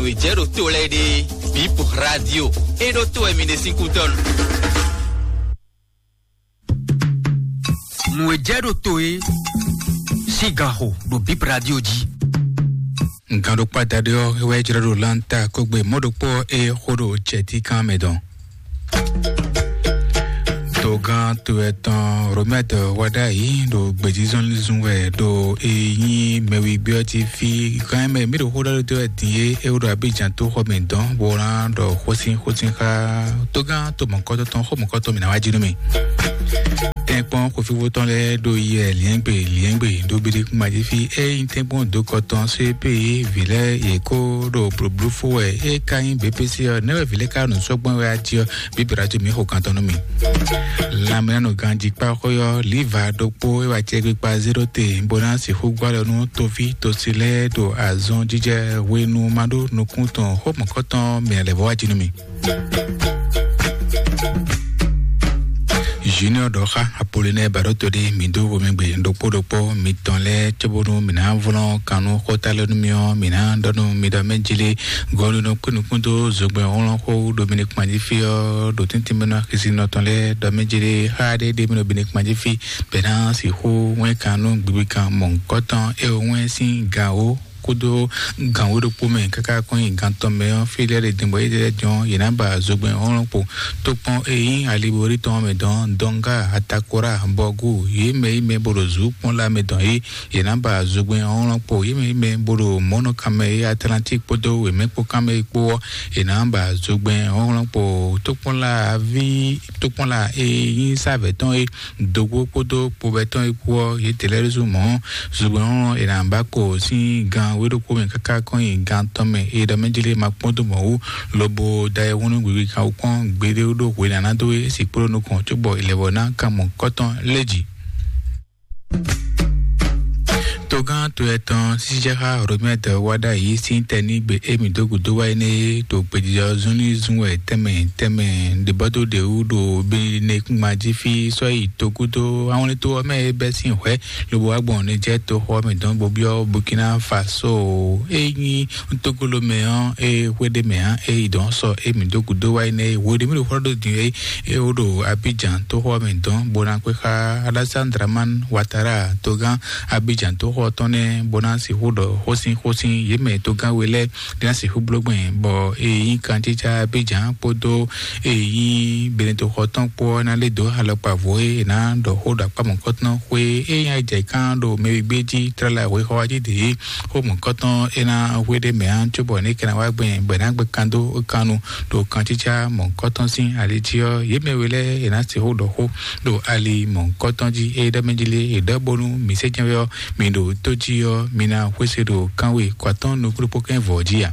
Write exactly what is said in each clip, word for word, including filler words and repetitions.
Nǔ e jɛ ɖo to lɛ́ɛ ɖe, Bip Radio. É ɖó to wɛ mi ɖe sín kútɔ́ nu. Nǔ e jɛ ɖo to é sín ganxo ɖo Bip Radio jí. Gǎn ɖokpó adaɖé ɔ́, é wɛ jlɔ́ ɖo Lanta kógbe mɔ̌ ɖokpó ɔ́, é xó ɖo jɛtíkan mɛ dɔn. Togán to ɛtɔn Romɛt wá ɖ'ayǐ ɖo gbějízɔ́nlízún wɛ ɖo e nyí mɛwígbé ɔ́ jí fí. Gán mɛ mí ɖo xó ɖɔ dó wɛ din é, é wó ɖo Abidjan tó xɔ mɛ dɔn bó ná ɖɔ xósin xósin xá togán to mɔ̌kɔtɔn tɔn xó mɔ̌kɔtɔn mǐ ná wá jí nú mì. Tɛ́nkpɔ́n xofíxó tɔn lɛ́ɛ ɖo yɛ liɛ́ngbè liɛ́ngbè ɖo bíɖí kúnmají fí. É nyí tɛ́nkpɔ́n dǒkɔ tɔn C P vǐ lɛ́ɛ yě kó ɖo blǒbló fó wɛ. É ka nyí B P C ɔ́, nɛ́ wɛ vǐ lɛ́ɛ ka ɖo nǔ sɔ́ gbɔn wɛ a jí ɔ́, bíbí ná jó mǐ xo kan tɔn nú mì. Lanmɛnánɔ ganjí kpá xó ɔ́, Liva ɖokpó é wá cɛ gbígbá zéro te, bó ná sixú gbá lɔ nú toví tosi lɛ́ɛ ɖo azɔn jíjɛ hwenu ma ɖó nukún tɔn xó mɔ̌kɔtɔn mǐ lɛ́ vɔ wá jí nú mì. Junior ɖɔ xá Apollinaire Baɖóto ɖé, mǐ dó xomɛgbe ɖokpó ɖokpó mitɔn lɛ́ɛ cóbónú mǐ ná vlɔ́n kannú xóta lɛ́ɛ nú mì ɔ́, mǐ ná ɖɔ nú mi ɖɔ mɛ jlé gɔ̌lunɔ kpé nukún dó zogbɛ́n hlɔ́nxó ɖo mi ní kpan jí fí ɔ́, ɖo tɛ́ntin mɛ nú axisínɔ tɔn lɛ́ɛ ɖɔ mɛ jlé xá ɖé ɖé mi ɖo mi ní kpan jí fí bɛ̌ ná sixú wɛ́n kannú gbigbi kan mɔ̌hunkɔtɔn é wɛ́n sín gǎn ó kódó gǎn wé ɖokpó mɛ káká kɔn nyi gǎn tɔn mɛ ɔ́, fí lɛ́ɛ ɖe din bɔ yědɛɛ jɔ́n yě ná ba zogbɛ́n hlɔ́nhlɔ́n kpo. Tókpɔn e nyí ali bo ɖi tɔn mɛ dɔn Dɔnga, Atakora, Bɔgu, yě mɛ yi mɛ bo ɖo zǔ kpɔ́n lá mɛ dɔn é, yě ná ba zogbɛ́n hlɔ́nhlɔ́n kpo. Yě mɛ yi mɛ bo ɖo mɔ̌nɔkan mɛ é, Atlantík kpódó wěmɛ kpó kán mɛ é kpó ɔ́, yě ná ba zogbɛ́n hlɔ́nhlɔ́n kpo. Tókpɔ́n lá aví tókpɔ́n lá e nyí sávɛ̌ tɔn é, dǒgbó kpódó kpovɛ́tɔ́ e kú ɔ́, yětɛn lɛ́ɛ ɖésú mɔ̌, zogbɛ́n ɔ́ è nǎ ba kpo sín gan wéɖokpó mɛ káká kɔn nyi gan tɔn mɛ e ɖɔ mɛ jlé ma kpɔ́n dó mɔ̌ wú, lobo da ayihún nú gbigbí kan wú kpɔ́n gbeɖé ɖó hwe ná ná dó é, sǐkpó ɖo nukɔn cóbɔ è lɛ̌ vɔ ná kan mɔ̌hunkɔtɔn lɛ́ jǐ. Togán to ɛtɔn sísɛ́xá Romɛ́d wá ɖ'ayǐ sín tɛnígbe émí dó gǔdo wá énɛ́ é ɖo gbějijɔ zunlízún wɛ tɛnmɛ tɛnmɛ ɖěbɔ́dó ɖě wú ɖo Benikúngban jí fí sɔ́ yi togúdo awlɛ́ntó ɔ́ mɛ é bɛ́ sín hwɛ̌ lobo wá gbɔn Nijɛ́ɛ toxo ɔ́ mɛ dɔn bó byɔ́ Burkina Faso. É nyí Tógó ló mɛ ɔ́, é hwe ɖé mɛ ǎ, é yi dɔn sɔ émí dó gǔdo wá énɛ́ é hwe ɖé mí ɖo xwlɔ́ ɖó din é é wó ɖo Abidjan toxo ɔ́ mɛ dɔn bó ná kpé xá Alassane Dramane Ouattara togán Abidjan toxo ɔ́ tɔn nɛ́ bó ná sixú ɖɔ xósin xósin yě mɛ togán we lɛ́ɛ ɖé ná sixú bló gbɛn bɔ é nyí kantítsá Abidjan kpódó é nyí Benetoxo tɔn kpó ɔ́ ná lé dǒ alɔkpa vo é è nǎ ɖɔ xó ɖo akpá mɔ̌kɔtɔn xwé é nyí ajɛ kán ɖo mɛwígbé jí tlala hwexɔ jí ɖě xó mɔ̌kɔtɔn é ná hwe ɖé mɛ ǎ cóbɔ ní kɛ́ ná wá gbɛn bɔ é ná gbɛ kan dó kan nu ɖo kantítsá mɔ̌kɔtɔn sín ali jí ɔ́, yě mɛ we lɛ́ɛ è nǎ sixú ɖɔ xó ɖo ali mɔ̌kɔtɔn jí é ɖɔ mɛ jí lé è ɖɔ bónú mǐ sɛ́ jɛ́n wɛ ɔ́, mi ɖo tó jí ɔ́, mi ná xwésé ɖo kánwe kɔ atɔ́ɔ́n nukúnɖokpó kɛ́n vɔ̌ jí a?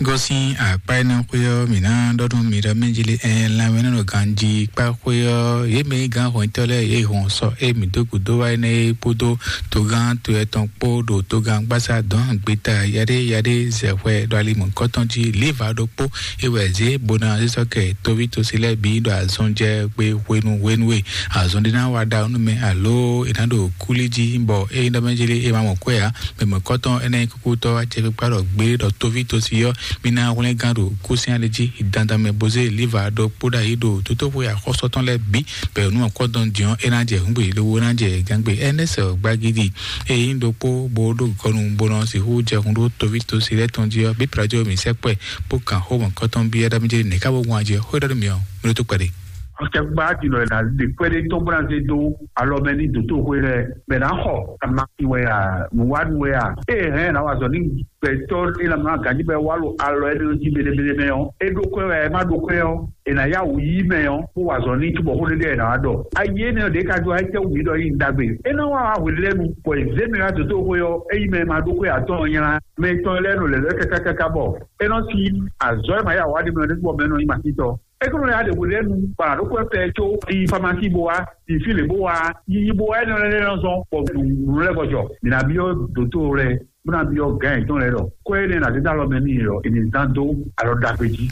Gosín akpá énɛ́ xwé ɔ́, mǐ ná ɖɔ nú mi ɖɔ mɛ jí lé ɛ lanmɛ nɔ ganjí kpá xwé ɔ́, yě mɛ nyí gǎn hɔnyitɔ́ lɛ́ɛ yě hɔn sɔ é mǐ dó gǔdo wá énɛ́ é kpódó togán to ɛtɔn kpó ɖo togán gbásá dɔn gbeta yaɖé yaɖé zɛ hwɛ ɖo ali mɔ̌kɔtɔn jí líva ɖokpó é wɛ zě bó ná zé sɔ́ kɛ tóví tosi lɛ́ɛ bǐ ɖo azɔn jɛ gbe hwenu hwenu e azɔn ɖé ná wá ɖa nú mɛ alo è nǎ ɖo kúlí jí bɔ é nyí ɖɔ mɛ jí lé é ma mɔ kwɛ́ ǎ. Mɛ mɔ̌kɔtɔn énɛ́ nyí kúkútɔ́ acɛkpikpa ɖɔ gbé ɖɔ tóví tosi ɔ́, mi ná hwlɛ́n gán ɖo kúsín ali jí dandan mɛ bó zé líva ɖokpó ɖ'ayǐ ɖo tótóxwe axɔ́sɔ tɔn lɛ́ɛ bǐ bɔ nú akɔ́dɔn din ɔ́, é ná jɛ hǔngbe lobo ná jɛ gǎngbe. Ɛnɛ́sɛ gbagidi e nyí ɖokpó bó ɖó gɔnu bó nɔ sixú jɛ hun ɖó tóví tosi lɛ́ɛ tɔn jí ɔ́, bí Pilato mǐ sɛkpɛ bó kan xó mɔ̌kɔtɔn byɔ́ ɖɔ mì jɛ nɛ̌ ká bó wán jɛ xó ɖɔ nú mì ɔ́, mi ɖó tó kpɛɖé. Ɔkɛgba dinɔ yɛ na ɖe kpɛɖé tɔn bó ná zé dó alɔ mɛ ní dòtóxwé lɛ mɛ ná xɔ ama wɛ a nǔwánu wɛ a eye hɛn na wa zɔ ní gbɛtɔ ní lamɛ ná ganji bɛ wá lo alɔ yɛ ní jí bele bele mɛ ɔ é ɖó kɔɛ wɛ ɛ má ɖó kɔɛ ɔ è nà yá wǔ yí mɛ ɔ kó wa zɔ ní cúbɔ xó ɖé ɖe ɛ nà wá ɖɔ ayi énɛ́ ɖě ka jó ayé tɛ wǔ mí ɖɔ yí un ɖagbe é ná wá wá hwelɛ́nu bɔ è zé mɛ wá dòtóxwé ɔ é yí mɛ ma ɖó kɔɛ atɔ́ ɔ nylá mɛ tɔn lɛ́ɛ nɔ lɛ̌lɛ́ kákákáká bɔ é nɔ sí azɔ̌ e ma yá wá ɖi mɛ ɔ ní bɔ mɛ nɔ nyí masítɔ. Ekúnlẹ̀ adèbò lẹ́nu gbàrà ló kọ́ fẹ́ tó di famasi bó wa di fílè bó wa yiyi bó wa ẹni ọ̀rẹ́ lẹ́nu sọ pọ̀ nù lẹ́kọ̀jọ. Mìnà bí ó dòtó rẹ múnà bí ó gán ẹ̀ tán rẹ lọ. Kó ẹ̀ ní nàdí dá lọ mẹ́mí rẹ ìní zán dó alọ́ dàgbé jí.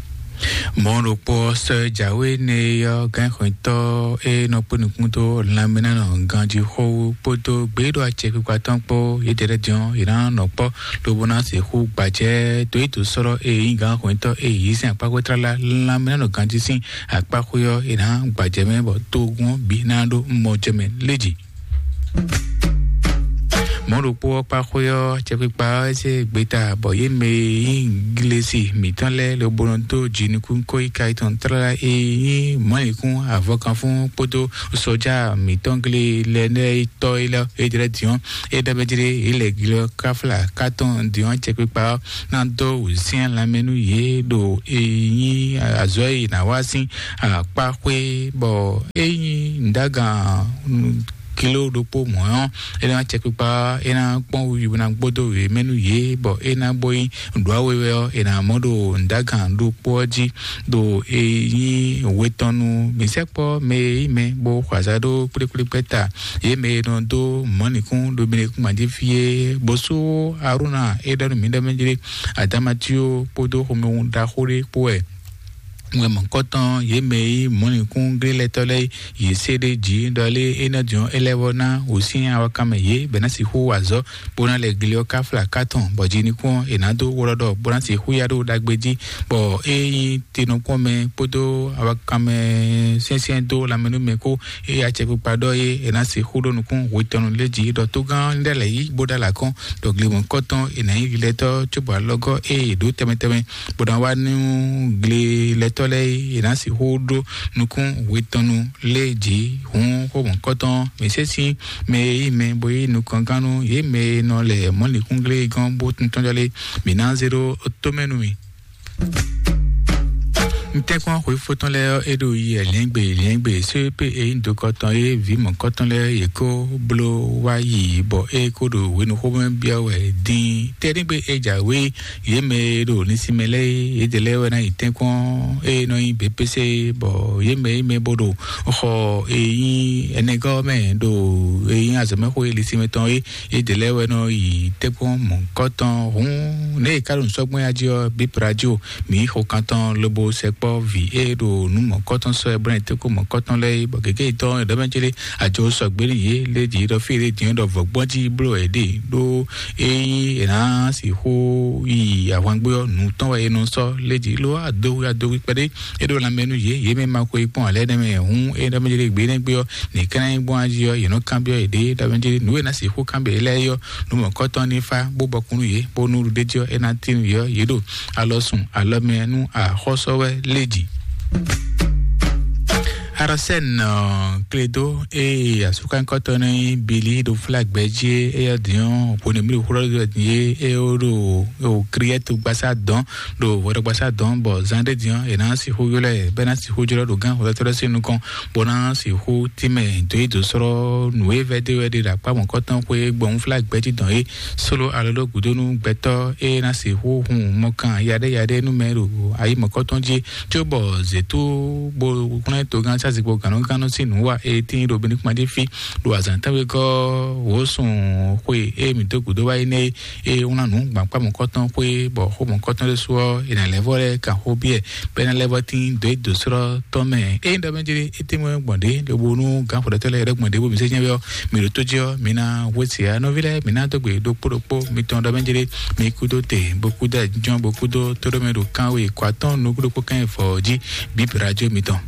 Mɔ̌ ɖokpó ɔ́, sɔ́ e jǎwe nɛ é ɔ́, gǎnxwɛ́ntɔ́ e nɔ kpé nukún dó lanmɛnánɔ ganjí xó wú kpódó gběɖo acɛkpikpa tɔn kpó yědɛɛ lɛ́ɛ din ɔ́, yě ná nɔ kpɔ́ lobo ná sixú gbajɛ dó yi dǒ sɔ́ e nyí gǎnxwɛ́ntɔ́ e yě sín akpáxwé tlala lanmɛnánɔ ganjí sín akpáxwé ɔ́, yě ná gbajɛ mɛ bɔ togun ɔ́ bǐ ná ɖó mɔjɛmɛ léjì. Mɔ̌ ɖokpó ɔ́ kpá xwé ɔ́, acɛkpikpa ɔ́ zé gbeta bɔ yě mɛ e nyí glesi mǐtɔn lɛ́ɛ lobo nɔ dó jinukún kó yi ka tɔn tlala e nyí mɔ̌likún avɔkanfún kpódó sɔjá mǐtɔn gle lɛ́ɛ nɛ́ yi tɔ́ é lɛ́ɛ é jlɛ́ din ɔ́, é ɖɔ bɛ́ jlé yě lɛ glɔ́ káfla kátɔn din ɔ́, acɛkpikpa ɔ́ ná dó wǔsyɛ́n lanmɛ nú yě ɖo e nyí azɔ̌ e yě ná wa sín akpá xwé, bɔ é nyí nǔdágan kilo ɖokpó mɔ̌ ɔ́, é ná cɛkpikpa, é ná kpɔ́n wiwi bó ná gbódó wěmɛ nú yě, bɔ é ná bó nyí nǔɖuɖu wewɛ ɔ́, è nǎ mɔ ɖo nǔdágan ɖokpó ɔ́ jí, ɖo e nyí we tɔn nu mǐ sɛkpɔ́ mɛ e nyí mɛ bó xɔ azǎ ɖó kplékplékpɛ́ ta, yě mɛ e nɔ dó mɔ̌likún ɖo mɛɖekúngban jí fí é, bó sú Arúna é ɖɔ nú mǐ ɖɔ mɛ jlé, Adamatio kpódó xomɛhun ɖaxó ɖé kpó wɛ. Wɛ mɔ̌kɔtɔn yě mɛ e nyí mɔ̌likúnglélɛ́tɔ́ lɛ́ɛ yě se ɖ'é jí ɖɔ lé é nɔ jɔn é lɛ́ vɔ ná wǔ sín awakanmɛ yě bɔ é ná sixú wa azɔ̌, bó ná lɛ gle ɔ́ káfla kátɔn, bɔ jinikún ɔ́ è nǎ dó wlɔ́ ɖɔ bó ná sixú ya ɖó ɖagbe jí, bɔ é nyí tinɔkpɔ́n mɛ kpódó awakanmɛ syɛ́nsyɛ́n dó lanmɛ nú mɛ kó, é acɛkpikpa ɖɔ é è nǎ sixú ɖó nukún hwetɔnu lé jí ɖɔ tógán lɛ́ lɛ̌ yí bó ɖó alakɔ́n ɖɔ gle mɔ̌kɔtɔn è nǎ nyí glilɛtɔ́ cóbɔ alɔgɔ́ é è ɖǒ tɛnmɛ tɛnmɛ bó ná wá nú glelɛtɔ́ lɛ́ɛ é, è nǎ sixú ɖó nukún hwetɔnu lé jǐ. Hǔn xó mɔ̌kɔtɔn mǐ sésí mɛ e nyí mɛ bó nyí nukɔngán nú yě mɛ e nɔ lɛ mɔ̌likúnglé gɔ́n bó tún tɔ́njɔ́ lé, mǐ ná zé ɖó tómɛ nú mi. Ntɛ́nkpɔ́n xwefó tɔn lɛ́ɛ ɔ́, é ɖo yi wɛ lɛ̌ngbè lɛ̌ngbè, só e pé e nyí dokɔ tɔn é, vǐ mɔ̌kɔtɔn lɛ́ɛ yě kó bló wá yi, bɔ é kó ɖo hwenuxómɛ byɔ́ wɛ dín. Tɛ́ɖígbe e jǎwe yě mɛ e ɖo linsinmɛ lɛ́ɛ é, yědɛɛ lɛ́ɛ wɛ ná yi tɛ́nkpɔ́n e nɔ nyí B P C, bɔ yě mɛ e mɛ bó ɖo xɔ e nyí ɛnɛgɔ́ mɛ ɖo e nyí azɔ̌mɛxó e linsinmɛ tɔn é, yědɛɛ lɛ́ɛ wɛ nɔ yi tɛ́nkpɔ́n mɔ̌kɔtɔn. Hǔn nɛ̌ è ka ɖo nǔ sɔ́ gbɔn ya jí ɔ́, Bíp Radio mǐ xo kantɔn lobo sɛkpɔ́ vǐ e ɖo nǔ mɔ̌kɔtɔn sɔ́ ɛ bó ná yi tɛ́nkpɔ́n mɔ̌kɔtɔn lɛ́ɛ é, bɔ gěgé yětɔn è ɖɔ mɛ célé àjọ sɔgbě n'i yě lé jǐ ɖɔ fí e ɖě din ɖɔ vɔ̌gbɔ́n jí bló wɛ ɖe ɖó ényí è nǎ sixú yi ahwangbé ɔ́, nǔ tɔn wɛ è nɔ sɔ́ lé jǐ ló adohu adohu kpɛɖé é ɖo lanmɛ nú yě, yě mɛ ma xwe kpɔ́n alɛ nɛ́ mɛ hǔn é ɖɔ mɛ jɛ ɖe gbě nɛ́ gbé ɔ́, ní kɛ́n ná nyí gbɔn ají ɔ́, yě nɔ kanbyɔ́ yěɖée ɖɔ mɛ jɛ nǔ e ná sixú kanbyɔ́ yě lɛ́ɛ é ɔ́, nǔ mɔ̌kɔtɔn ní fá bó bɔkun nú yě, bónú ɖuɖéjí ɔ́ é ná tín yě ɔ́, yě ɖo alɔ sun alɔ mɛ nú axɔ́sɔ́ wɛ lé jǐ. Arasɛn Kledo eye asúkankɔtɔ nɔ nyi Bili ɖo flagbɛ jí, eya diɔ hwenu mi ɖo xlɔ ɖɔ ni ye eye wo ɖo o kriɛtu gbasa dɔn ɖo hwɛɖɔgbasa dɔn, bɔ zan ɖe diɔ e na sixú yɔlɛ bɛ na sixú jɔlɔ ɖo gán hwɛtɔlɔ sin nukɔn, bɔ na sixú timɛ do yi do srɔ nǔ e vɛ de wɛ ɖe ɖo akpa mɔkɔtɔn xwe gbɔn flagbɛ jí dɔn ye solo alo ɖo gudonu gbɛtɔ e na sixú hun mɔkan yaɖe yaɖe nu mɛ ɖo ayi mɔkɔtɔn jí. Tso bɔ zetu bo kplɔ́n togán sásìkpo gǎnnugánnu sín nǔ wa e tín ɖo Benikuma jí fí ɖo azǎn tɛ́nwegɔ́ wǒsun xwe e mǐ dó gǔdo wá yi nɛ́ e wlán nǔ gbǎkpá mɔ̌kɔtɔn xwe bɔ xó mɔ̌kɔtɔn ɖésú ɔ́, è nǎ lɛ́ vɔ lɛ́ kan xó biɛ bɔ é ná lɛ́ vɔ tín dó é dǒ srɔ́ tɔn mɛ. Ényí ɖɔ mɛ jlé é tɛ́nwe gbɔn ɖě lobo nú gǎnxɔɖɔtɔ́ lɛ́ɛ ɖɔ gbɔn ɖě bó mǐ sɛ́ nyɛ ɔ́, mǐ ɖo tó jí ɔ́, mǐ ná hwesí ya nɔví lɛ́ɛ, mǐ ná dó gbe ɖokpó ɖokpó mitɔn ɖɔ mɛ jlé. Mi kúdó te, bó kúdó jɔn, bó kúdó tóɖómɛ ɖo kánwe kó atɔ́n nukúɖokpó kán yi fɔ jí bíbí radio mitɔn.